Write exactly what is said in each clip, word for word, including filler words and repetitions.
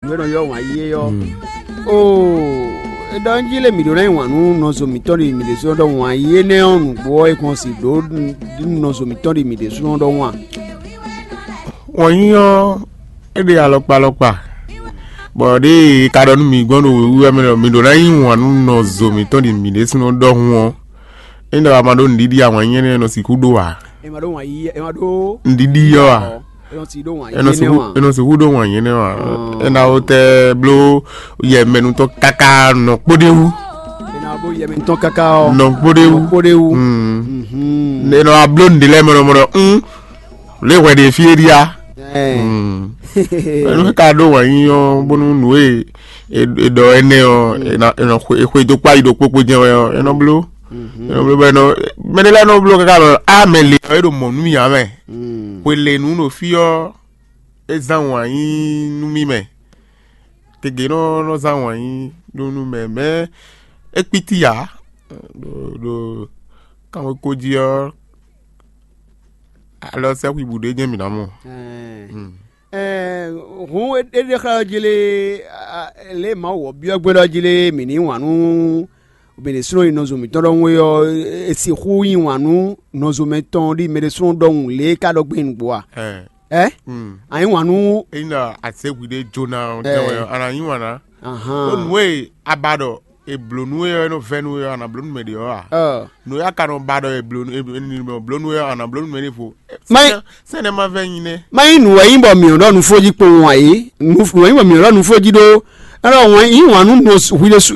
Nɔ ylɔ́ wǎn yíyí é ɔ́. Oo, é ɖɔ njí lé mǐ ɖó ná nyi wǎn nú nɔzo mǐtɔn ɖi mǐ ɖésúnɔ ɖɔ wǎn yíyí énɛ́ ɔ́ nǔgbó ɔ́, é kɔn si ɖǒ nɔzo mǐtɔn ɖi mǐ ɖésúnɔ ɖɔhun a? Wǎn yíyí ɔ́, é ɖe alɔkpa alɔkpa, bɔ ɖěe ka ɖɔ nú mǐ gbɔn ɖo wěwú wɛ mɛ ɖɔ mǐ ɖó ná nyi wǎn nú nɔzo mǐtɔn ɖi mǐ ɖésúnɔ ɖɔhun ɔ́, é ɖɔ a ma ɖó nǔɖiɖi awǎn yíyí énɛ́ nɔ sixú ɖó ǎ. È ma ɖó wǎn yíyí, è ma ɖó nǔɖiɖi ɔ́ a? È nɔ si ɖó wǎn yíyí énɛ́ wǎn. È nɔ sixú ɖó wǎn yíyí énɛ́ wǎn. É ná wó tɛ́ bló yɛmɛnutɔ́ káká nɔ kpóɖéwú. È nɔ bló yɛmɛnutɔ́ káká ɔ́. Nɔ kpóɖéwú. Nɔ kpóɖéwú. È nɔ wá bló nǔɖé lɛ́ɛ mɔɖɔmɔɖɔ. Lě hwɛ ɖe fí é ɖíá. Ɛnú ka ɖó wǎn yíyí ɔ́ bónú nǔ e è ɖɔ énɛ́ ɔ́, è nɔ xwedó kpá yi ɖo kpókpó jɛ́n wɛ ɔ́, é nɔ bló. É nɔ bló bɔ é nɔ, mɛ ɖé lɛ́ɛ nɔ bló káká ɖɔ á mɛ lě ɔ́, é ɖo mɔ̌ nú mì ǎ mɛ. Hwelěnu ɖo fí ɔ́, é zán wǎn yí nú mì mɛ. Gěgé nɔ nɔ zán wǎn yí ɖó nú mɛ, mɛ é kpítí ǎ. Ɖo ɖo kanwekó jí ɔ́, alɔ sɛ́xwíbǔ ɖé jɛ́n mǐ ná mɔ. Ɛɛ, hǔn é ɖe xlɛ́ ɔ́ jí lé, lě e Mawu wɔ byɔ́ gbé ɖɔ jí lé, mǐ ní wǎn nú mǐ ɖésúnɔ nyi nɔzo mǐtɔn ɖɔhun é ɔ́, è sixú yí wǎn nú nɔzo mɛtɔn ɖi mɛ ɖésúnɔ ɖɔhun lě e ka ɖɔ gbé nǔgbó a? Ɛ, a yí wǎn nú. Ényí ɖɔ azěhwi ɖé jóná ɔ́, a nǎ yí wǎn ná. Ó nǔ e a ba ɖɔ è blǒ nú we ɔ́, é nɔ vɛ́ nú we ɔ́, a nǎ bló nú mɛ ɖě ɔ́ a? Nǔ e a ka nɔ ba ɖɔ è blǒ nú é nɔ bló nú we ɔ́, a nǎ bló nú mɛ ɖěvo. Má nyí sɛ́nɛ má vɛ́ nyi nɛ́. Má nyí nǔ wɛ nyí bɔ mǐ ɖɔ nǔ fó jí kpowun ǎ é. Nǔ wɛ nyí bɔ mǐ ɖɔ nǔ fó jí ɖó. Ɛlɔ wɛn yí wǎn nú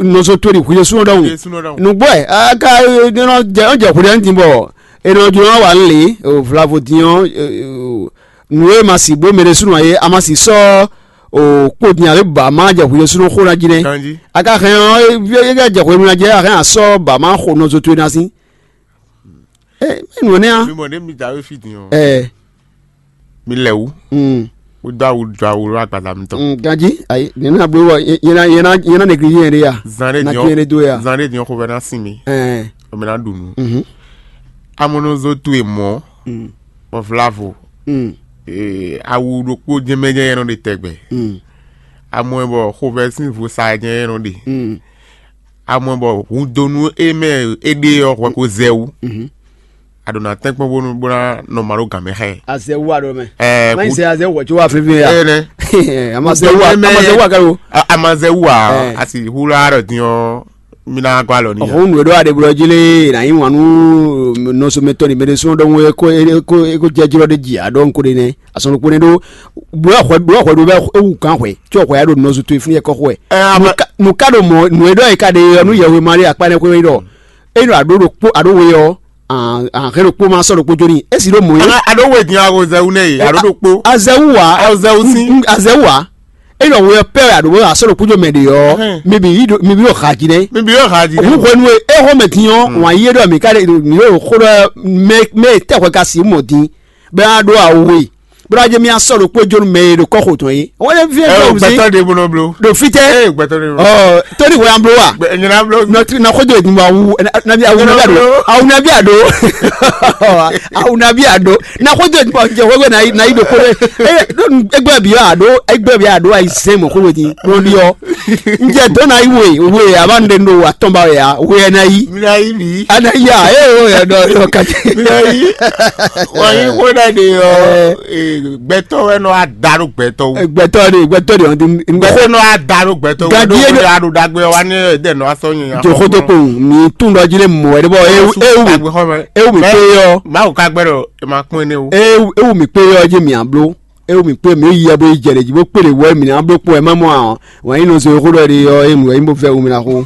nɔzo towe ɖi hwilesúnɔ ɖɔhun. Nǔgbó ɛ aka nɔ jɛ hwilɛ din bɔ è nɔ jló wá wǎ lě vlavo din ɔ́. Nǔ e ma sì bó mɛ ɖésúnɔ ǎ é, a ma sì sɔ́ kpo din ǎ é, bɔ a ma jɛ hwilesúnɔ xó ná jí nɛ́. A ka hɛn ɔ́, é ka jɛ hwenu ná jí, a hɛn a sɔ́ bɔ a ma xo nɔzo towe ná sín. Ɛ mɛ nǔ énɛ́ ǎ. Mi mɔ ɖě mi da wé fí din ɔ́. Ɛ. Mi lɛ wú. Mm. Wó dó awu dó awu ɖó agbaza mitɔn. Mm, ganjí ayi ní ná bló wɔ yé ná yé ná yé ná négligé yẹn ɖé ya. Zan ɖé na diɔn tún yẹn ɖé dó ya. Zan ɖé diɔn xovɛ ná sin mi. Ɛɛ. Omi ná ɖu nu. Mhm. Amɔnɔzo towe mɔ. Mm. Bɔ vlavo. Mm. Ee, awu ɖokpó jɛmɛjɛ yɛn nɔ ɖe tɛgbɛ. Mm. Amɔ bɔ xovɛ sín vo sa jɛ yɛn nɔ ɖe. Mm. Amɔ bɔ hudonu e mɛ e ɖe ɔ́ hwɛ ko zɛ wú. Mhm. A ɖo na tɛ́nkpɔ́n bónú bó ná nɔ ma ɖó gǎn mɛ xá ɛ. Azɛ wú a ɖo mɛ. Ɛɛ, má yi sɛ azɛ wɔ tso wá fífí ya. Ɛɛ nɛ. A ma zɛ wú a, a ma zɛ wú a kɛlɛ o. A ma zɛ wú a, a sì hu la ɖɔ din ɔ́, mi ná gɔ́ alɔ ní. Ɔhɔn nu e ɖo aɖebulɔ jí lé, na yí wǎn nú nɔsɔmɛtɔ́ ni mɛ ɖé sɔn ɖɔhun e ko e ko e ko jɛ jlɔ ɖe ji a ɖɔ nko ɖe nɛ. Asɔn ɖokpó nɛ ɖó. Blɔ xɔ blɔ xɔ ɖo bɛ ewu kan xɔ. Tsɔ xɔ ya ɖo nɔzu to fún yɛ kɔ xɔ. Ɛ, a ma- Nu ka ɖo mɔ nu e ɖɔ yi ka ɖe yɔ nu yɛhwe ma ɖe akpa nɛ xwe ɖɔ. Eyi nɔ aɖo ɖokpó aɖo we yɔ. An hɛn ɖokpó ma sɔ ɖokpó joni esi ɖo mɔ yɛ. Ana aɖo we din awo zɛwu nɛ yi aɖo ɖokpó. Azɛwu wa. Azɛwu si. Azɛwu wa. Eyi nɔ we pɛ aɖo we asɔ ɖokpó jo mɛ de yɔ. Ɛhɛn. Mi bi yi do mi bi yɔ ha ji nɛ. Mi bi yɔ ha ji nɛ. Òun hwenu e e xɔ mɛ din ɔ wọn yi ɖɔ mi ka ɖe mi yɔ xɔ ɖɔ mɛ mɛ tɛ xɔ ka si mɔ din. Bɛ a ɖo awo we. Bla jɛ mi asɔ ɖokpó jo mɛ ye ɖo kɔ xo tɔn ye. Wọn yɛ fi ɛ o gbɛtɔ de bolo blo. Ɖo fi tɛ. Ee gbɛtɔ de bolo. Ɔ tóni wɛ an blo wa. Gbɛ nyina blo. Nɔtiri na xɔjɔ edun wa wu na bi awu na bi ado awu na bi ado awu na bi ado na xɔjɔ edun wa jɛ wɛwɛ na yi na yi do kore. Ee ɖo egbɛ bi ado egbɛ bi ado ayi sɛn mɔ kore di kore di ɔ. Njɛ dɔ na yi we we a ba n de do wa tɔn ba ya we na yi. Mi na yi mi. A na yi a ee o ya dɔ yɔ kati. Mi na yi. Wa yi ko na de yɔ. Gbɛtɔ wɛ nɔ a da ɖo gbɛtɔ wu. Gbɛtɔ de gbɛtɔ de ɔn ti. Gbɛtɔ nɔ a da ɖo gbɛtɔ wu. Gadi ɖo ye gbɛtɔ a ɖo dagbe wa ne ɛdɛ nɔ asɔ nyɛ. Joxo to ko mi tun dɔ ji le mɔ wɛ de bɔ ewu ewu mi pe yɔ. Mawu ka gbɛ ɖɔ e ma kpɔn ne o. Ewu ewu mi pe yɔ ji mi ablo. Ewu mi pe mi yi yɛ bo yi jɛ de ji bo kpele wɔ mi na blo kpɔ ɛ ma mɔ a. Wa yi nɔ so xo dɔ de yɔ ewu mi wɛ yi bo fɛ wu mi na xo.